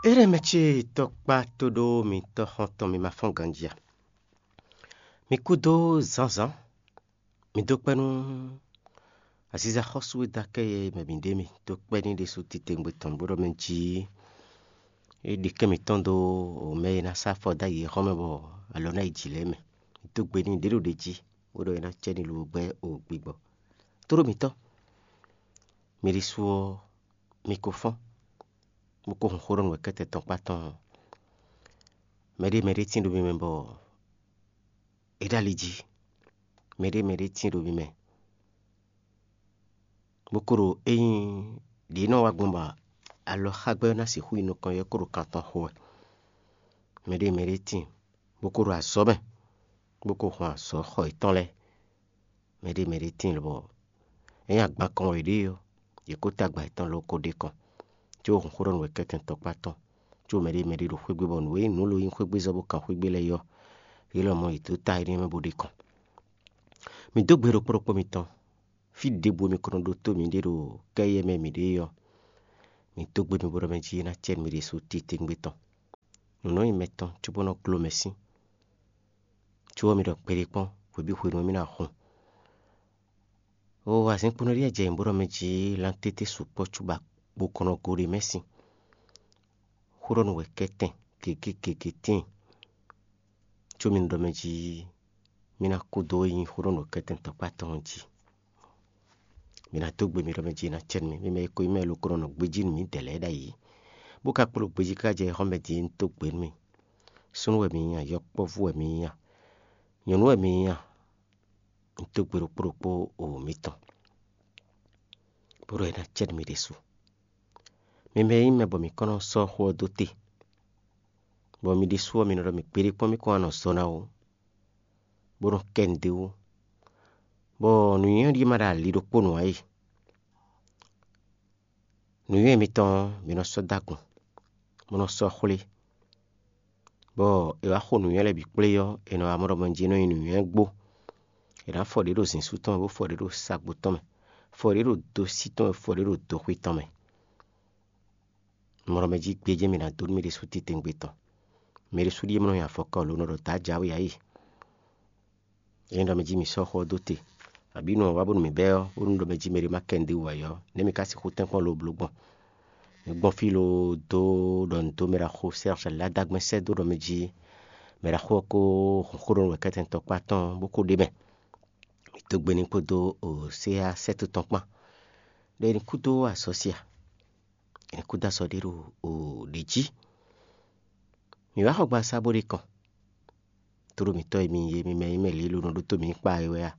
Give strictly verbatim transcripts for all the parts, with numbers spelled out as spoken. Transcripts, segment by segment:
Éɖɛmɛ ce tɔkpá tóɖó mitɔ́ xɔ́ntɔn mi ma fɔ́n ganjí a? Mi kú dó zǎnzǎn. Mi dó kpɛ́ nú aziza xɔ́sú e dó akɛ́ yɛ mɛ mǐ ɖe mi dó kpɛ́ n'i ɖésú titewungbe tɔn bó ɖɔ mɛ jí é ɖi kɛ́n mǐtɔn dó mɛ e ná sá afɔ dó ayǐ xɔ́ mɛ bɔ alɔ ná yi jǐ lɛ́ɛ mɛ. Mi dó gbe n'i ɖě ɖo ɖě jí bó ɖɔ é ná cɛ n'i lobo gbɛ́ o gbigbɔ. Tóɖó mitɔ́, mi ɖésú ɔ́, mi ko fɔ́n, bó ko hun xó ɖɔ nǔ wɛ kɛ́tɛ́ tɔn kpá tɔn ɔ́. Mɛɖé mɛɖé tín ɖo mi mɛ bɔ é ɖo ali jí. Mɛɖé mɛɖé tín ɖo mi mɛ, bó ko ɖo ényí ɖě nɔ wá gbɔn bɔ alɔxágbɛ́ ɔ́ ná sixú yi nukɔn ɔ́, é ko ɖo kan tɔn xo wɛ. Mɛɖé mɛɖé tíin, bó ko ɖo azɔ̌ mɛ, bó ko hun azɔ̌ xɔ yětɔn lɛ́ɛ. Mɛɖé mɛɖé tíin lobɔ é nyí agban kɔn wɛ yě ɖe ɔ́, yě ko tagba yětɔn ló ko ɖe kɔn, có hun xó ɖɔ nú wɛ kɛ́tɛn tɔkpá tɔn, có mɛɖé mɛɖé ɖo xwé gbe bɔ nǔ e nyí nǔ lo nyí xwé gbe zɔ́ bó kan xwé gbe lɛ́ɛ ɔ́, yě lɔmɔ̌ yě dó ta énɛ́ mɛ bó ɖe kɔn. Mi dó gbe ɖokpó ɖokpó mitɔn, fí ɖěbǔ e mi ko nɔ ɖótó miɖée ɖo kɛ́yɛ mɛ mi ɖe é ɔ́, mi dó gbe mi bó ɖɔ mɛ jí é ná cɛ nú mi ɖésú titewungbe tɔn. Nǔ nɔ nyí mɛ tɔn cóbó nɔ gló mɛ sín, có ɔ́ mi ɖɔ gbeɖé kpɔ́n hwebǐ hwenu e mì ná hun. Oo, azinkpo nɔ ɖíe jɛ nyǐ bó ɖɔ mɛ jí lantété sukpɔ́ cóbɔ akpo kɔn nɔ go ɖ'é mɛ sín. Xó ɖɔ nú wɛ kɛ́tɛn gěgé gěgé tíin, có mi nɔ ɖɔ mɛ jí mì ná kú dó nyí xó ɖɔ nú wɛ kɛ́tɛn tɔkpá tɔn ɔ́ jí. Mi ná dó gbe mi ɖɔ mɛ jí ná cɛ nú mi, mi mɛ e ko nyí mɛ e lo ko nɔ nɔ gbejí nú mǐdɛɛ lɛ́ɛ ɖ'ayǐ, bó ka kpló gbejí káká jɛ xɔ́mɛ din é, un dó gbe nú mi. Súnnu wɛ mi nyí a, yɔkpɔ́vú wɛ mi nyí a, nyɔ̌nu wɛ mi nyí a, un dó gbe ɖokpó ɖokpó o mitɔn, bó ɖɔ é ná cɛ nú mi ɖésú. Mi mɛ e nyí mɛ bɔ mǐ kɔn nɔ sɔ́ xó ɔ́ dó te, bɔ mi ɖésú ɔ́, mi nɔ ɖɔ mǐ kpéɖé kpɔ́n mì kɔn wá nɔ zɔ ná ó, bó nɔ kɛ nǔɖé wú, bɔ nǔnywɛ́ ɖíe ma ɖo ali ɖokpó nǔ ǎ e. Nǔnywɛ́ mitɔn ɔ́, mi nɔ sɔ́ dó agun, bó nɔ sɔ́ xwlé, bɔ è wǎ xo nǔnywɛ́ lɛ́ɛ bǐ kplé ɔ́, è nɔ wá mɔ ɖɔ mɔ jí é nɔ nyí nǔnywɛ́ gbó. È nǎ fɔ ɖě ɖo zǐnsu tɔn mɛ, bó fɔ ɖě ɖo sagbó tɔn mɛ, fɔ ɖě ɖo dosí tɔn mɛ, fɔ ɖě ɖo doxwé tɔn mɛ. Mlɔ mɛ jí gbéjé mi ná dó nú mi ɖésú titewungbe tɔn. Mi ɖésú ɖíe mlɔ nyi afɔkɔ lo nɔ ɖɔ dǎ jǎwe ǎ yi. Ényí ɖɔ mɛ jí mi sɔ́ xó ɔ́ dó te, abǐ nɔ wá bónú mǐ bɛ́ ɔ́, bónú ɖɔ mɛ jí mɛɖé má kɛ nǔɖé wú ǎ ɔ́, nɛ̌ mi ka sixú tɛ́nkpɔ́n lo bló gbɔn? Mi gbɔn fí lo dó ɖɔ nǔ dó mɛ ɖaxó Sɛ́rjɛ Ladagbɛ́n sɛ́ dó ɖɔ mɛ jí mɛ ɖaxó ɔ́ ko hun xó ɖɔ nú wɛ kɛ́tɛn tɔkpá tɔn bó ko ɖ'é mɛ. Mi dó gbe n'i kpódó Oséa sɛ́ to tɔn kpán, ɖɔ è nǐ kú dó azɔ̌ sia, è nǐ kú dó azɔ̌ ɖé ɖo ɖě jí. Mǐ wá xɔ gbasá bó ɖe kɔn. Tlóló mǐtɔn e mi nyí é, mi mɛ e nyí mɛ lělónɔ ɖótó mǐ kpa é wɛ a?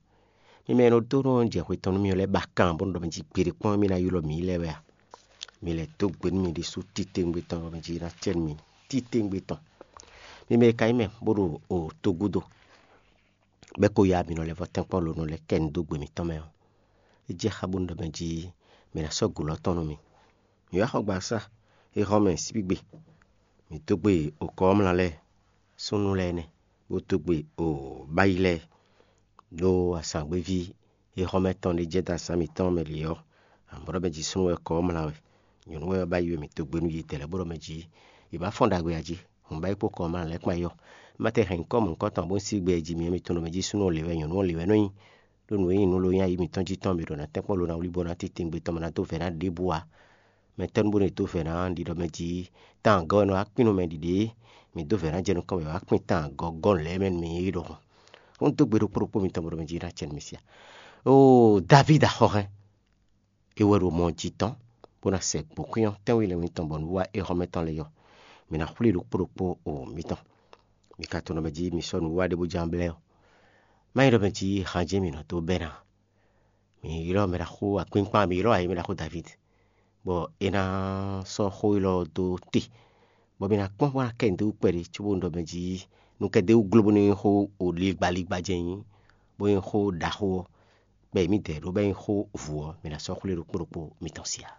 Mi mɛ e nɔ dó nɔ jɛ xwe tɔn nú mì ɔ́ lɛ́ɛ ba kan bónú ɖɔ mɛ jí gbeɖé kpɔ́n mì ná ylɔ́ mǐ lɛ́ɛ wɛ a? Mi lɛ́ dó gbe nú mi ɖésú titewungbe tɔn, bɔ mɛ jí ná cɛ nú mi titewungbe tɔn. Mi mɛ e ka nyí mɛ bó ɖo o togúdo, bɛ́ ko ya mǐ nɔ lɛ́ vɔ tɛ́nkpɔ́n lo nɔ lɛ́ kɛ nǔ dó gbe mǐtɔn mɛ ɔ́, é jɛ xá bónú ɖɔ mɛ jí mǐ ná sɔ́ gǔlɔ tɔn nú mi. Mǐ wá xɔ gbasá e hɔn mɛ síbígbe. Mǐ dó gbe okɔ ɔ́ mla lɛ́ɛ, súnnu lɛ́ɛ nɛ́, bó dó gbe o báyi lɛ́ɛ, ɖó azǎngbeví e hɔn mɛ tɔn ɖé jɛ dó azǎn mǐtɔn mɛ lě ɔ́, amɔ̌ ɖɔ mɛ jí súnnu wɛ kɔ ɔ́ mla wɛ. Nyɔ̌nu wɛ ɔ́ báyi wɛ mǐ dó gbe nú yě dɛ̌ lɛ́ɛ bó ɖɔ mɛ jí yě bá fɔ́n ɖagbe ǎ jí, hǔn báyi kpó kɔ ɔ́ mla lɛ́ɛ kpán yɔ. É má tɛ hɛn nyǐkɔ mɔ̌hunkɔtɔn bó sín gbɛ jí mi ɔ́, mi tunwun ɖɔ mɛ jí súnnu ɔ́ lě wɛ, nyɔ̌nu ɔ́ lě wɛ nɔ nyí. Ɖó nǔ e nyí nǔ lo nyí ayǐ mǐtɔn jí tɔn, mǐ ɖo ná tɛ́nkpɔ́n lo ná wlí bó ná titewungbe tɔn mɛ ná dó vɛ̌ ná ɖěbǔ ǎ. Mɛ tɛ́ nú bónú è dó vɛ̌ ná ɖi ɖɔ mɛ jí tán agɔ́ wɛ nɔ wá kpín nú mɛ ɖiɖě, mǐ dó vɛ̌ ná jɛ nukɔn wɛ wá kpín tán agɔ́ gɔ́ lɛ̌ mɛ nú mì é ɖɔhun. Ó ń dó gbe ɖokpó ɖokpó mitɔn bó ɖɔ mɛ jí ná cɛ nú mi sia. Oo, Davídi axɔhɛn, é wɛ ɖo mɔ jí tɔn, bó ná sɛ gbǒkwín ɔ́ tɛ́nwe lɛ́ɛ mitɔn bɔ nǔwiwa é hɔn mɛ tɔn lɛ́ɛ yɔ. Mǐ ná xwlí ɖokpó ɖokpó o mitɔn. Mi ka tunwun ɖɔ mɛ jí mi sɔ́ nǔwiwa ɖé bó ján blɛ́ ɔ́, má nyí ɖɔ mɛ jí han jɛ́n mǐ nɔ dó bɛ́ ná. Mǐ ylɔ́ mɛ ɖaxó akpínkpán, mǐ ylɔ́ ayǐ mɛ ɖaxó Davídi, bɔ é ná sɔ́ xó élɔ́ dó te, bɔ mǐ ná kpɔ́n bó ná kɛ nǔɖé wú kpɛɖé, cóbó nɔ ɖɔ mɛ jí nú kɛ ɖ'é wú gló bónú é nyí xó o ligbaligba jɛ́n nyí, bó nyí xó ɖaxó ɔ́, bɔ è mǐdɛɛ ɖó bɔ é nyí xó vǔ ɔ́, mǐ ná sɔ́ xwlé ɖokpó ɖokpó mitɔn sia.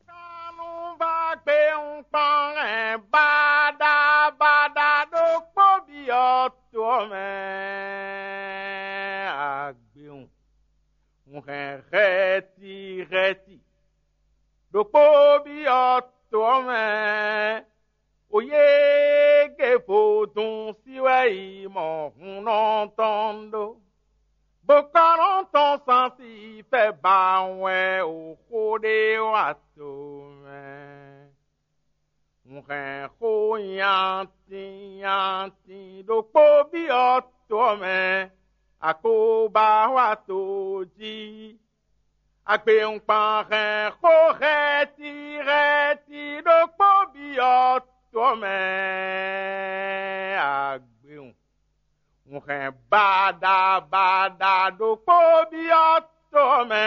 Kanú bá gbé ń kpɔ́n hɛn báɖá báɖá ɖokpó byɔ́ to ɔ́ mɛ agbewun. Un hɛn hɛti hɛti ɖokpó byɔ́ to ɔ́ mɛ Yége vodún sí wɛ yi mɔ hunnɔ tɔn ɖó, bó ka nɔ tɔn sansi fɛ ba wɛ o xó ɖé wa to mɛ. Un hɛn xó nyatin nyatin ɖokpó byɔ́ to ɔ́ mɛ, a ko ba wa to jí. Agbewungban hɛn xó hɛ́ti hɛ́ti ɖokpó byɔ́ to ɔ́ mɛ, agbewun. Un hɛn baɖa baɖa ɖokpó byɔ́ to ɔ́ mɛ,